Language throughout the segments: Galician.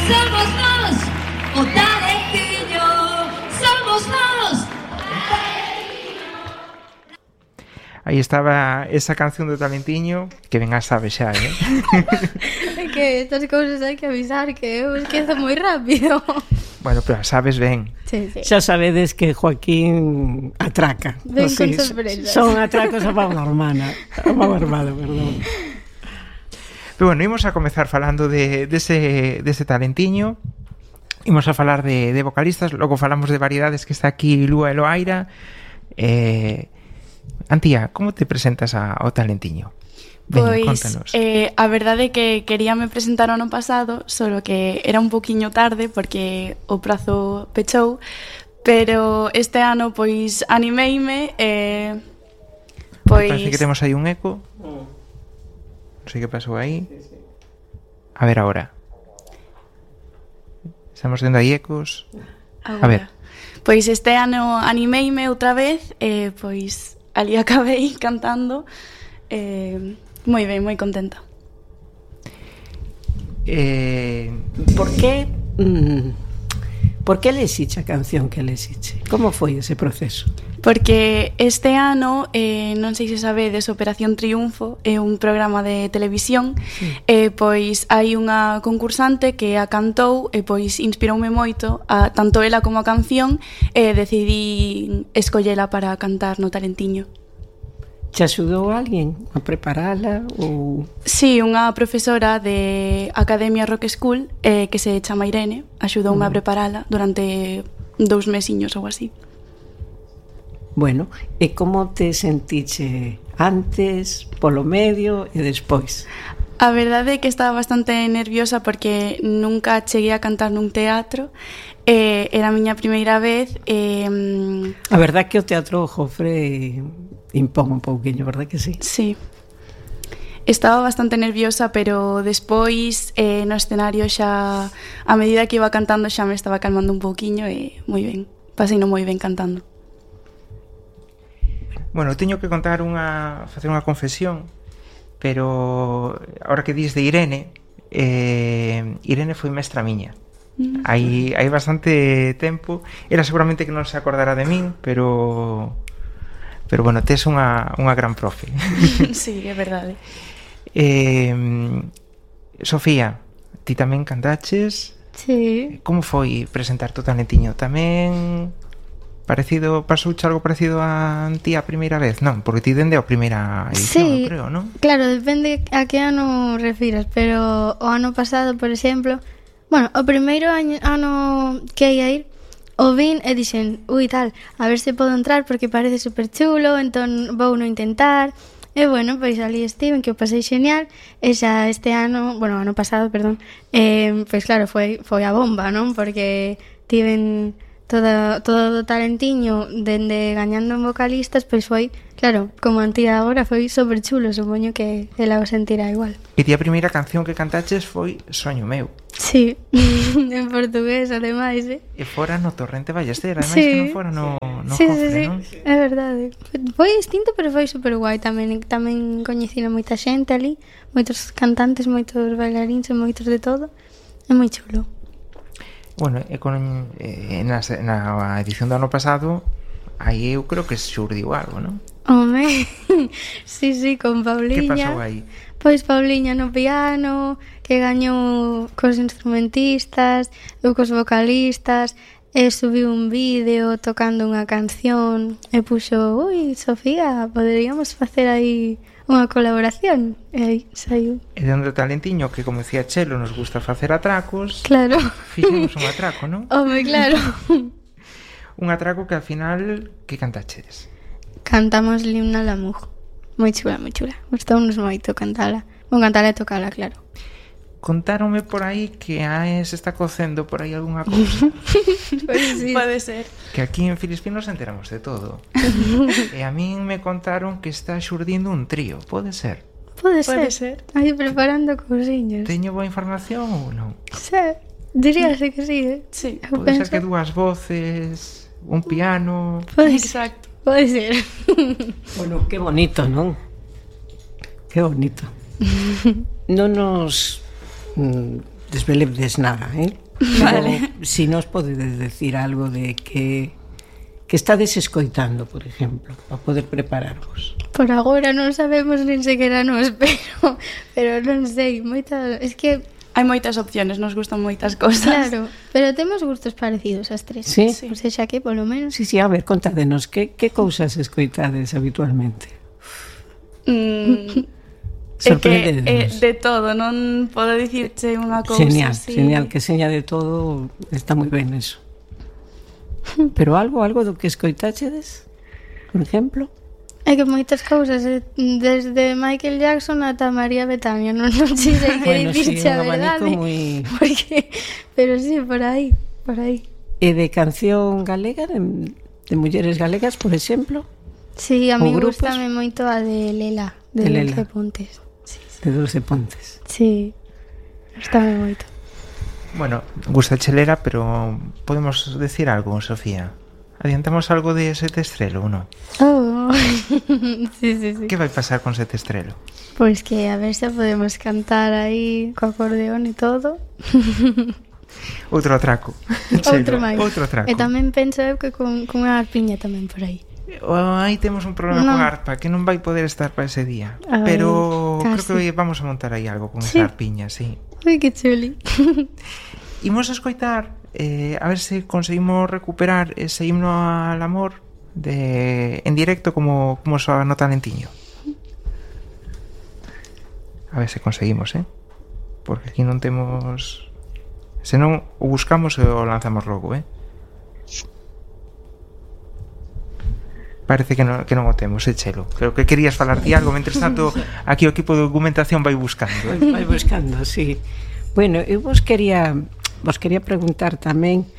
Somos nós, o talentiño. Somos nós. Aí estaba esa canción do Talentiño, que ben a sabe xa, É que estas cousas hai que avisar, que eu esquezo moi rápido. Bueno, pero a sabes ben. Sí, sí. Xa sabedes que Joaquín atraca. Ven Así, con sorpresas. son atracos a pau armada, perdón. Pero bueno, imos a comezar falando dese Talentiño. Imos a falar de vocalistas, logo falamos de variedades, que está aquí Lúa e Loaira. Antía, como te presentas ao Talentiño? Veña, Pois, contanos. a verdade é que queríame presentar o ano pasado, solo que era un poquiño tarde porque o prazo pechou, pero este ano pois animeime e pois Parece que temos aí un eco. Non sei que pasou aí. A ver agora. Estamos tendo aí ecos. A ver. Pois este ano animeime outra vez e pois ali acabei cantando moi ben, moi contenta. Por que lexiche a canción que lexiche? Como foi ese proceso? Porque este ano, non sei se sabedes, Operación Triunfo é un programa de televisión, e pois hai unha concursante que a cantou e pois inspiroume moito, tanto ela como a canción, e decidí escollela para cantar no Talentiño. Te axudou alguén a preparala ou... Sí, unha profesora de Academia Rock School que se chama Irene axudoume a preparala durante 2 mesiños ou así. Bueno, e como te sentiche antes, polo medio e despois? A verdade é que estaba bastante nerviosa porque nunca cheguei a cantar nun teatro, era a miña primeira vez. A verdade é que o Teatro Jofre impón un pouquiño, verdad que sí? Sí. Estaba bastante nerviosa, pero despois no escenario xa, a medida que iba cantando xa me estaba calmando un pouquiño e moi ben, paseino moi ben cantando. Bueno, teño que contar facer unha confesión, pero ahora que dis de Irene, Irene foi mestra miña. Hai bastante tempo. Era seguramente que non se acordara de min, pero bueno, tes unha gran profe. Sí, é verdade. Sofía, ti tamén cantaches? Sí. Como foi presentar o Talentiño? Tamén parecido, pasouche algo parecido a ti a primeira vez? Non, porque ti dende a primeira edición, Sí, creo, non? Claro, depende a que ano refiras, pero o ano pasado, por exemplo, bueno, o primeiro ano que ia ir, o vin e dixen, ui tal, a ver se podo entrar porque parece super chulo, entón vou no intentar. E bueno, pois ali estiven, que o pasei genial. E xa este ano, bueno, ano pasado, perdón, pois claro, foi a bomba, non? Porque tiven todo o Talentiño dende gañando en vocalistas, pois foi, claro, como Antía agora, foi super chulo, supoño que ela o sentirá igual. E ti a primeira canción que cantaches foi Soño meu. Sí, en portugués, ademais, E fora no Torrente Ballester, ademais Sí. que non fora no Sí, Jofre, sí, non? sí, é verdade. Foi distinto, pero foi super guai tamén coñecino moita xente ali, moitos cantantes, moitos bailarins e moitos de todo. É moi chulo. Bueno, na edición do ano pasado, aí eu creo que xurdiu algo, non? Home, sí, con Pauliña. Que pasou aí? Pois Pauliña no piano, que gañou cos instrumentistas, eu cos vocalistas, e subiu un vídeo tocando unha canción, e puxo, ui, Sofía, poderíamos facer aí unha colaboración, e aí saiu. E dentro do Talentiño, que como decía Chelo, nos gusta facer atracos. Claro. Fixemos un atraco, non? Home, claro. Un atraco que ao final, que cantachedes? Cantamos Limna Lamuj. Moi chula, moi chula. Gustounos moito cantala. Bon, cantala e tocala, claro. Contáronme por aí que se está cocendo por aí algunha cousa. Pois sí. Pode ser. Que aquí en Filispín nos enteramos de todo. E a min me contaron que está xurdindo un trío. Pode ser? Pode Pode ser. ser. Aí preparando cousiñas. Teño boa información ou non? Sí, diríase que sí, Sí. Eu Pode ser penso. que dúas voces, un piano... Pode ser. Exacto. Pode ser. Bueno, que bonito, non? Que bonito. Non nos desveledes nada, Vale. Pero, si nos podedes decir algo de que estades escoitando, por exemplo, para poder prepararvos. Por agora non sabemos nin sequera nos, pero non sei, moitas... Es que, Hai moitas opciones, nos gustan moitas cosas. claro, pero temos gustos parecidos as tres. Sí? Por sexa que, polo menos... Sí, a ver, contádenos, que cousas escoitades habitualmente? É que Sorprendedenos. de todo, non podo dicirche unha cousa así. Genial, que seña de todo, está moi ben eso. Pero algo do que escoitachedes, por exemplo? É que moitas cousas, desde Michael Jackson ata María Betania, non sei que Bueno, sí, dicirche a un abanico verdade. moi... Porque, pero sí, por aí. E de canción galega, de mulleres galegas, por exemplo, Sí, a Ou mí grupos? gustame moito a de Lela, De de Lela. Dulce Pontes. de Dulce Pontes. Sí, gustame moito. Bueno, gusta chelera, pero podemos decir algo, Sofía. ¿Adiantamos algo de Sete Estrelo ou non? Oh. Sí. Que vai pasar con Sete Estrelo? Pois que a ver se podemos cantar aí co acordeón e todo. Outro atraco. Outro máis. Outro atraco. E tamén penso eu que con unha arpiña tamén por aí. Aí temos un problema Non. con arpa que non vai poder estar para ese día. Ai, Pero casi. creo que vamos a montar aí algo con Sí. esa arpiña, sí. Ui, que chuli. Imos a escoitar a ver se conseguimos recuperar ese himno al amor en directo como soa no Talentiño. A ver se conseguimos, porque aquí non temos... Se non, o buscamos e o lanzamos logo, Parece que non o temos, Chelo. Creo que querías falar ti algo, mentres tanto aquí o equipo de documentación vai buscando. Vai buscando, sí. Bueno, eu vos quería preguntar tamén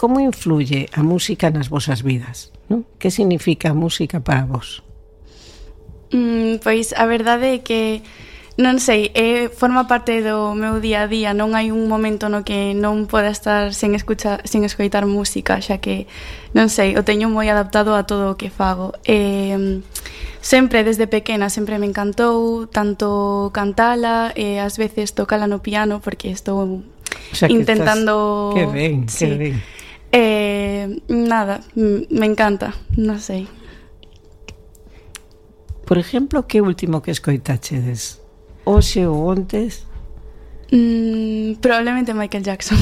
como influye a música nas vosas vidas, non? Que significa a música para vos? Pois a verdade é que non sei, forma parte do meu día a día, non hai un momento no que non poda estar sen escoitar música, xa que non sei, o teño moi adaptado a todo o que fago. Sempre desde pequena sempre me encantou tanto cantala e ás veces tocala no piano porque estou intentando Que ben, sí. que ben. Nada, me encanta, non sei. Por exemplo, que último que escoitachedes? Hoxe ou ontes? Probablemente Michael Jackson.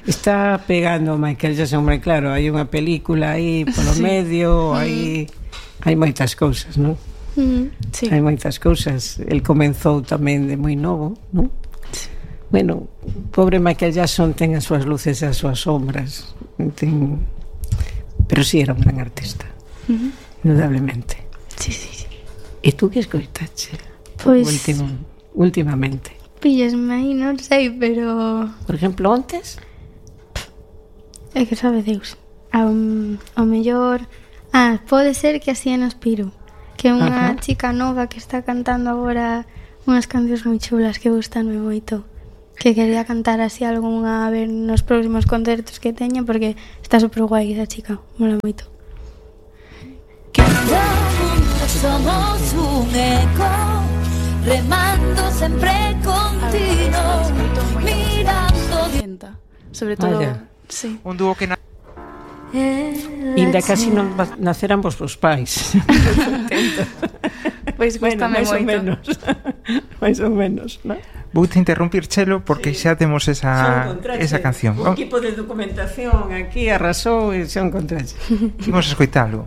Está pegando Michael Jackson, hombre, claro, hai unha película aí polo medio, hai moitas cousas, non? Sí. Hai moitas cousas. El comenzou tamén de moi novo, non? Sí. Bueno, pobre Michael Jackson ten as súas luces e as súas sombras, pero sí era un gran artista, indudablemente. Sí. E tú que escoitache? Pois Últimamente. píllesme aí, non sei, pero Por exemplo, ontes? é que sabe Deus. Ao mellor pode ser que así en Aspiro, que é unha Ajá. chica nova que está cantando agora unhas cancións moi chulas que gustanme moito, que quería cantar así algunha a ver nos próximos concertos que teña porque está super guai esa chica, mola moito. Somos un eco, remando sempre continuo, mirando. Sobre todo, Vaya. sí. Un dúo que Inda casi non naceran vos pais. Pois gustame máis ou moito. menos. máis ou menos, non? Voute interrumpir, Chelo, porque xa temos esa canción. O equipo de documentación aquí arrasou e xa encontrache. Imos escoitalo.